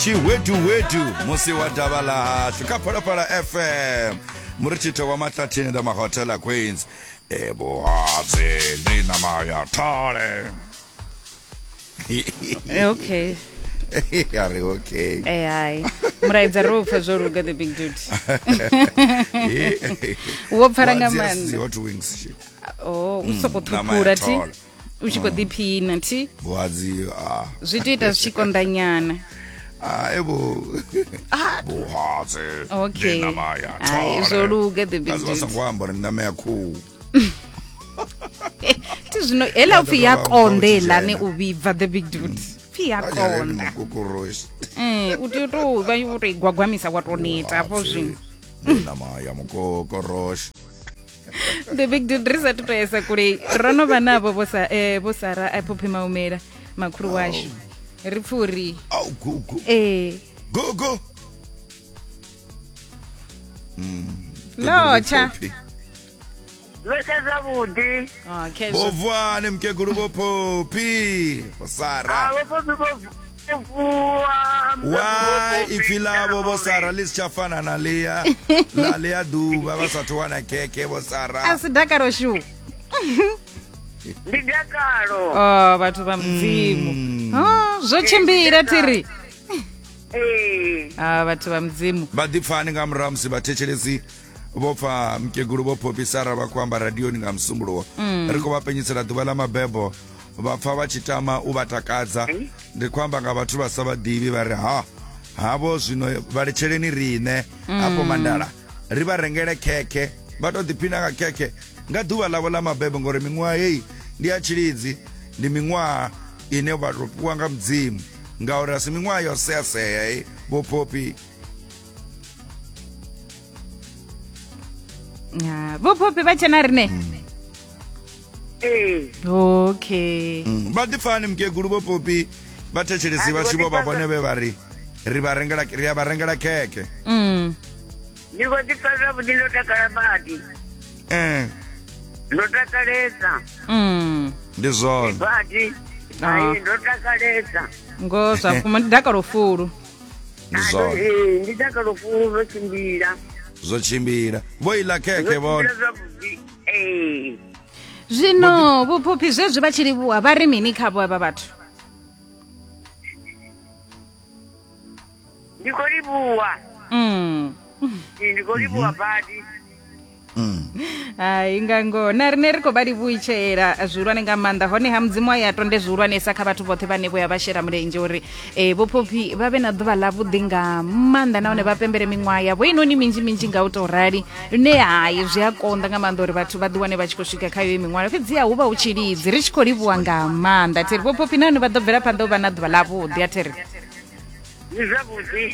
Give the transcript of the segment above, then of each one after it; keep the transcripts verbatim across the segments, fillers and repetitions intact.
Tshiweduwedu musi wa davha ḽa hashu kha Phalaphala F M murithitho wa Mahlathini the Mahotela Queens e vhuhadzi ndi ṋama ya thole. Okay. A ri okay. Eh hai. Mulaedza ro pfa zwo luga the big dude. Wo pfala nga maanḓa. Hot wings. Oh, u soko ṱhukhula thi. U tshi khou ḓiphina thi. Vhuhadzi ah. Zwi tou ita zwi tshi konḓa nyana. Ah, ebo. Vhuhadzi. Okay. Ndi ṋama ya Hai, thole. zwo luga the big Kazi vha dude. songo amba uri ndi ṋama ya khuhu. Thi zwino hela upfi ya Vha ḓo konḓa vha heiḽani tshena. u vhibva the big dude. Pfi ya konḓa. Mukokoroshi. Eh, u tea u tou vha wo tou i gwagwamisa wa tou neta hafho zwino. Ndi ṋama ya mukokoroshi. The big dude ri sathu to yesa kule ro no vha navho vho sa eh vho Sara a Phophi Maumela makhulu washu. Ri pfi uri Au gugu. eh Gugu. Lotsha. Lotsha zwavhuḓi. Okay. Vho vuwani mukegulu vho Phophi. Vho Sara. Ah, vho Phophi vho vuwa. Why ipfi ḽavho vho Sara ḽi si tsha fana na ḽia ḽa ḽia ḓuvha vha sathu wana khekhe vho Sara. A si dakalo shu. Ndi dakalo. Oh, vhathu vha Mudzimu. Oh, zwo tshimbila thiri. Eh. Ah, vhathu vha Mudzimu. Vha ḓipfani nga murahu musi vhathetshelesi vho pfa mukegulu vho Phophi Sara vha khou amba radioni nga Musumbuluwo. Ri khou vha penyisela ḓuvha ḽa mabebo vha pfa vha tshi tama u vha takadza. Ndi khou amba nga vhathu vha sa vha ḓivhi vha ri ha havho zwino vha litsheleni riṋe hafho Mandala ri vha rengele khekhe vha to ḓiphina nga khekhe nga ḓuvha ḽavho ḽa mabebo ngori miṅwaha heyi ndi ya tshilidzi, ndi miṅwaha ine vha to fhiwa nga Mudzimu ngauri a si miṅwaha yo seasea heyi vho Phophi. Ah, vho Phophi vha tshena rine. Eh. Okay. Mm. Vha ḓipfani mukegulu vho Phophi vha thetshelesi vha tshi vho vha vhone vhe vha ri ri vha rengela ri a vha rengela khekhe. Mm. Ndi khou ḓipfa zwavhuḓi ndo takala badi. Eh, Ndo takalesa. Mm. ndi zwone. Badi. Ah. Ai, ndo takalesa. Ngo zwa vhukuma ndi dakalo fulu. Ndi Ah, zwone. Eh, ndi dakalo fulu ro tshimbila. Zwo tshimbila. Vho iḽa khekhe Zwo vhone. tshimbila zwavhuḓi. Eh. Zwino vho Phophi zwezwi vha tshi livhuwa vha ri mini khavho avha vhathu? Ndi khou livhuwa. Mm. Eh, Ndi khou livhuwa badi. Mm. Hai nga ngoho na rine ri khou vha livhuitshela zwihulwane nga maanḓa hone ha Mudzimu a ya tonde zwihulwanesa kha vhathu vhoṱhe vhane vho ya vha shela mulenzhe uri eh, vho Phophi vha vhe na ḓuvha ḽavhuḓi nga maanḓa nahone vha pembele miṅwaha yavho inoni minzhi minzhi nga u tou rali lune hai zwi a konḓa nga maanḓa uri vhathu vha ḓiwane vha tshi khou swika kha iyo miṅwaha fhedziha hu vha hu tshilidzi ri tshi khou livhuwa nga maanḓa thiri vho Phophi nahone vha ḓo bvela phanḓa u vha na ḓuvha ḽavhuḓi a thiri Ndi zwavhuḓi.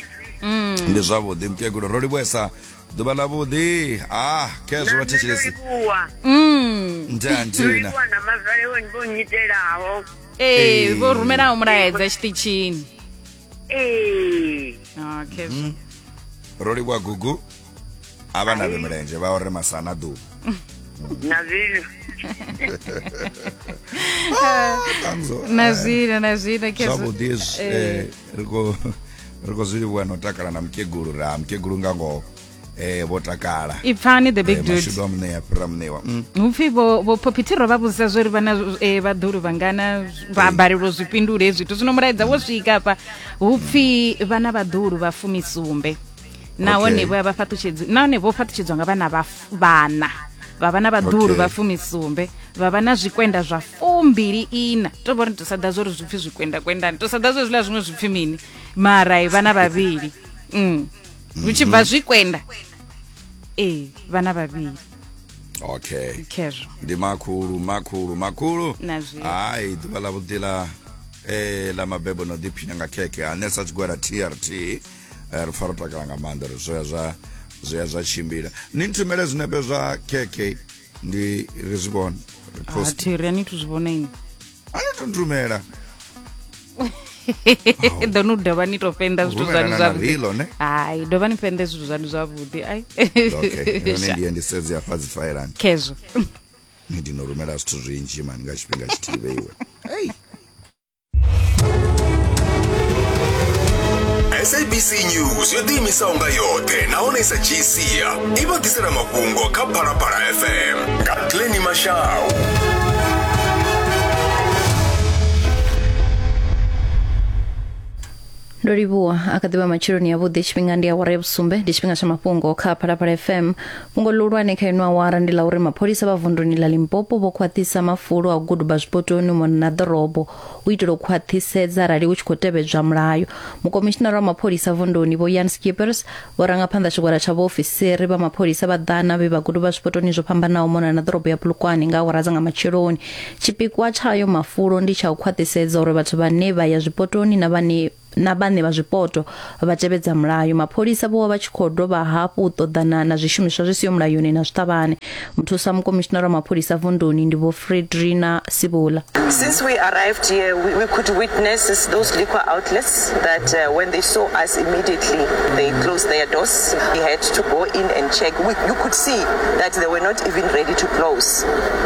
Ndi zwavhuḓi mukegulu ro livhuwesa ḓuvha ḽavhuḓi. Ah, khezwo Na vha nṋe ndo thetshelesi. livhuwa. mm. Nda Ndo ntina. livhuwa na mazwale vho nnyitelaho. ee vho rumelaho mulaedza tshiṱitshini Eh. okay Ro livhuwa gugu. A vha na vhe mulenzhe vha ore masana ḓuvha. Na zwino. Tanzo. na zwino na zwino khezwo Zwavhuḓi hezwi eh ri khou ri khou zwi livhuwa no takala na mukegulu ra mukegulu nga ngoho eh vho takala. ipfani the big Eh, dude mashudu a muṋe fhira muṋewa. Mm. hupfi vho vho Phophi thi ro vha vhudzisa zwori vha na eh, vhaḓulu vhangana vha balelwa u zwi fhindula hezwi zwithu zwino mulaedza wo swika hafha hupfi vha na vhaḓulu vha fumisumbe nahone Okay. vho ya vha fhaṱutshedzi nahone vho fhaṱutshedzwa nga vhana vha f- vhana vha vha na vhaḓulu Okay. vha fumisumbe vha vha na zwikwenda zwa fumbili ina to vhori to sa ḓa zwori zwipfi zwikwenda kwendani to sa ḓa zwe zwiḽa zwiṅwe zwipfi mini mara i vhana vhavhili mm. hu tshi bva zwikwenda ee vhana vhavhili Okay. khezwo Ndi makhulu makhulu makhulu. Na zwino. Hai ḓuvha ḽa vhuḓi ḽa eh ḽa mabebo no ḓiphina nga khekhe ane sa tshigwada T R T eh, ri pfa ro takala nga maanḓa uri zwo ya zwa zwo ya zwa tshimbila. Ni nthumele zwinepe zwa khekhe ndi ri zwi vhone. Ri post. thiri ani thu zwi vhona ini A ni to nthumela. ḓo no dovha ni to fenda zwithu Rumela zwanu na zwavhuḓi rilo, ne? hai dovha ni fende zwithu zwanu zwavhuḓi ai Okay, yone ndi ye ndi sedze afha dzi faelani. khezwo Ni ndi no rumela zwithu zwinzhi mani nga tshifhinga tshithihi vheiwe. Hey. S A B C News yo ḓiimisaho nga yoṱhe nahone sa dzhii sia i vha ḓisela mafhungo kha Phalaphala F M nga Glennie Mashau. Ndo livhuwa a kha ḓivha matsheloni avhuḓi, tshifhinga ndi awara ya vhusumbe, ndi tshifhinga tsha mafhungo kha Phalaphala F M. Fhungo ḽihulwane kha ino awara ndi ḽa uri mapholisa vha vunduni ḽa Limpopo vho khwaṱhisa mafulo a u guduba zwipotoni mona na ḓorobo u itela u khwaṱhisedza arali hu tshi khou tevhedzwa mulayo. Mukomishinara wa mapholisa vunduni Vho Jan Skippers vho ranga phanḓa tshigwada tsha vhaofisiri vha mapholisa vha ḓana vhe vha guduba zwipotoni zwo fhambanaho mona na ḓorobo ya Polokwane nga awara dza nga matsheloni. Tshipikwa tshayo mafulo ndi tsha u khwaṱhisedza uri vhathu vhane vha ya zwipotoni na vhane na vhane vha zwipoto vha tevhedza mulayo. Mapholisa vho vha tshi khou dovha hafhu u ṱoḓana na zwishumiswa zwi siho mulayoni na zwiṱavhane. Muthusa mukomishinara wa mapholisa vunduni ndi Vho Fredrina Sibula. Since we arrived here, we, we could witness those liquor outlets that uh, when they saw us immediately, they closed their doors. We had to go in and check. We, you could see that they were not even ready to close.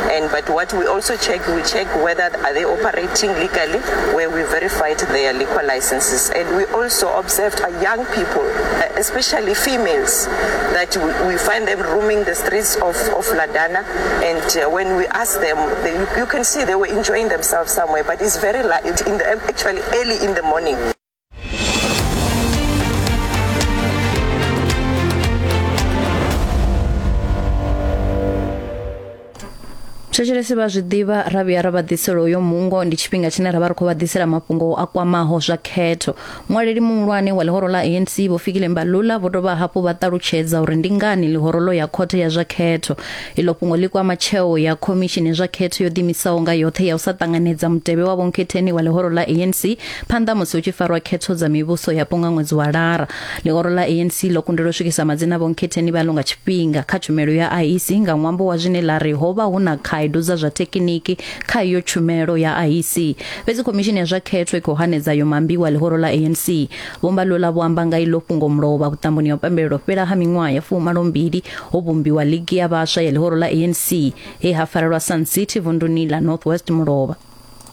And but what we also check, we check whether are they operating legally, where we verified their liquor licenses. And we also observed uh, young people, uh, especially females, that we, we find them roaming the streets of, of Ladana. And uh, when we ask them, they, you, you can see they were enjoying themselves somewhere, but it's very light, in the, actually early in the morning. Thetshelesi vha zwi ḓivha ra vhuya ra vha ḓisela uyo mungo, ndi tshifhinga tshine ra vha ri khou vha ḓisela mafhungo a kwamaho zwa khetho. Muṅwaleli muhulwane wa ḽihoro ḽa A N C Vho Fikile Mbalula vho dovha hafhu vha ṱalutshedza uri ndi ngani ḽihoro ḽo ya khothe ya zwa khetho. Iḽo fhungo ḽi kwama tsheo ya khomishini ya zwa khetho yo ḓiimisaho nga yoṱhe ya u sa ṱanganedza mutevhe wa vhonkhetheni wa ḽihoro ḽa A N C phanḓa musi hu tshi farwa khetho dza mivhuso yapo nga ṅwedzi wa Lara. Ḽihoro ḽa A N C ḽo kundelwa u swikisa madzina a vhonkhetheni vhaḽo nga tshifhinga kha tshumelo ya I E C nga ṅwambo wa zwine ḽa ri ho vha hu na khaedu dza zwa thekiniki kha iyo tshumelo ya I E C. Fhedzi khomishini ya zwa khetho i khou hanedza yo mambiwa ḽihoro ḽa A N C. Vho Mbalula vho amba nga iḽo fhungo mulovha vhuṱamboni ha u pembelela fhela ha miṅwaha ya fumalombili ho vhumbiwa ligi ya vhaswa ya ḽihoro ḽa A N C he ha farelwa Sun City vunduni ḽa North West mulovha.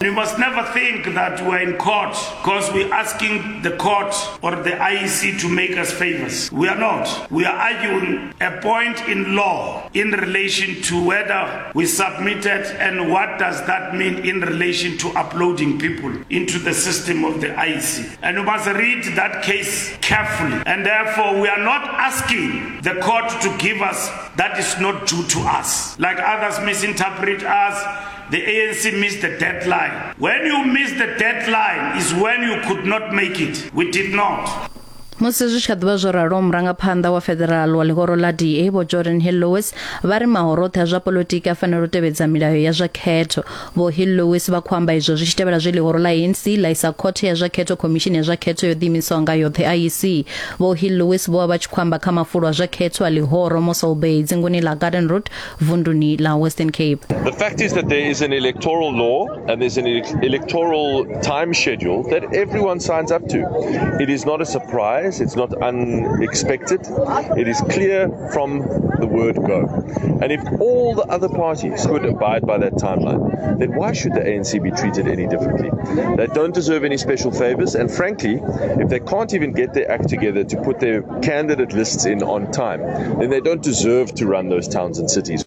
You must never think that we're in court because we're asking the court or the I E C to make us favors. We are not. We are arguing a point in law in relation to whether we submitted and what does that mean in relation to uploading people into the system of the I E C. And you must read that case carefully. And therefore, we are not asking the court to give us that is not due to us. Like others misinterpret us. The A N C missed the deadline. When you miss the deadline is when you could not make it. We did not. Musi zwi tshi kha ḓivha zwo ralo, murangaphanḓa wa federal wa ḽihoro ḽa D A Vho Jordan Hill Lewis vha ri mahoro oṱhe a zwa poḽotiki a fanela u tevhedza milayo ya zwa khetho. Vho Hill Lewis vha khou amba izwo zwi tshi tevhela zwe ḽihoro ḽa A N C ḽa isa khothe ya zwa khetho khomishini ya zwa khetho yo ḓiimisaho nga yoṱhe I E C. Vho Hill Lewis vho vha vha tshi khou amba kha mafulo a zwa khetho a ḽihoro Mossel Bay dzinguni ḽa Garden Route vunduni ḽa Western Cape. The fact is that there is an electoral law and there's an electoral time schedule that everyone signs up to. It is not a surprise. It's not unexpected. It is clear from the word go. And if all the other parties could abide by that timeline, then why should the A N C be treated any differently? They don't deserve any special favors. And frankly, if they can't even get their act together to put their candidate lists in on time, then they don't deserve to run those towns and cities.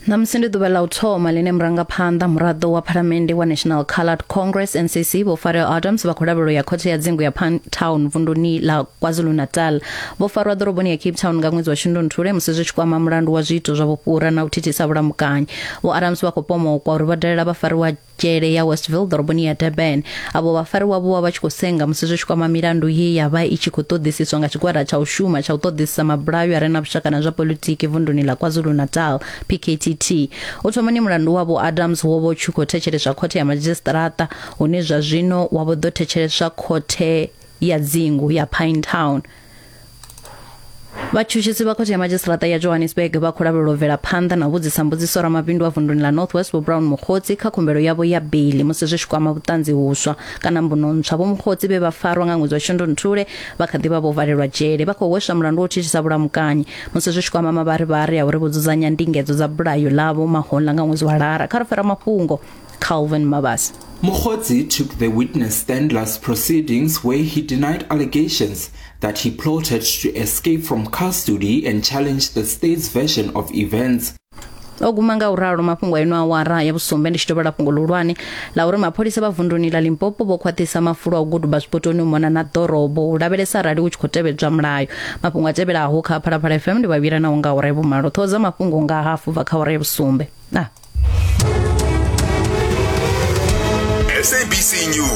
Ṋamusi ndi ḓuvha ḽa u thoma ḽine murangaphanḓa muraḓo wa phalamennde wa National Coloured Congress N C C Vho Farrell Adams vha khou lavhelelwa ya khothe ya dzingu ya Pinetown vunduni ḽa KwaZulu-Natal. Vho farwa ḓoroboni ya Cape Town nga ṅwedzi wa Shundunthule musi zwi tshi kwama mulandu wa zwiito zwa vhufhura na u thithisa vhulamukanyi. Vho Adams vha khou pomokwa uri vha dalela vhafariwa dzhele ya Westville ḓoroboni ya Durban. Avho vhafariwa vho vha vha tshi khou senga musi zwi tshi kwama milandu ye ya vha i tshi khou ṱoḓisiswa nga tshigwada tsha u shuma tsha u ṱoḓisisa mabulayo a re na vhushaka na zwa poḽotiki vunduni ḽa KwaZulu-Natal P K T T. U thomani mulandu wa Vho Adams wo vha u tshi khou thetsheleswa khothe ya madzhisiṱiraṱa hune zwa zwino wa vho ḓo thetsheleswa khothe ya dzingu ya Pinetown. Vhatshutshisi vha khothe ya madzhisiṱiraṱa ya Johannesburg vha khou lavhelelwa u bvela phanḓa na u vhudzisa mbudziso ramabindu wa vunduni ḽa North West Vho Brown Mogotsi kha khumbelo yavho ya beili musi zwi tshi kwama vhuṱanzi huswa kana mbuno ntswa. Vho Mogotsi vhe vha farwa nga ṅwedzi wa Shundunthule vha kha ḓi vha vho valelwa dzhele, vha khou hweswa mulandu wa u thithisa vhulamukanyi musi zwi tshi kwama mavharivhari a uri vho dzudzanya ndingedzo dza bulayo ḽavho mahoḽa nga ṅwedzi wa Lara. Kha ri fara mafhungo Calvin Mabasa. Mogotsi took the witness stand last proceedings where he denied allegations that he plotted to escape from custody and challenged the state's version of events. O guma nga uralo mafhungo a ino awara ya vhusumbe. Ndi tshi tovhela fhungo ḽihulwane ḽa uri mapholisa vha vunduni ḽa Limpopo vho khwaṱhisa mafulo a u guduba zwipotoni u mona na ḓorobo u lavhelesa arali hu tshi khou tevhedzwa mulayo. Mafhungo a tevhelaho kha Phalaphala F M ndi vhavhila naho nga awara ya vhumalo. Ṱhoho dza mafhungo nga hafu bva kha awara ya vhusumbe. Na S A B C News.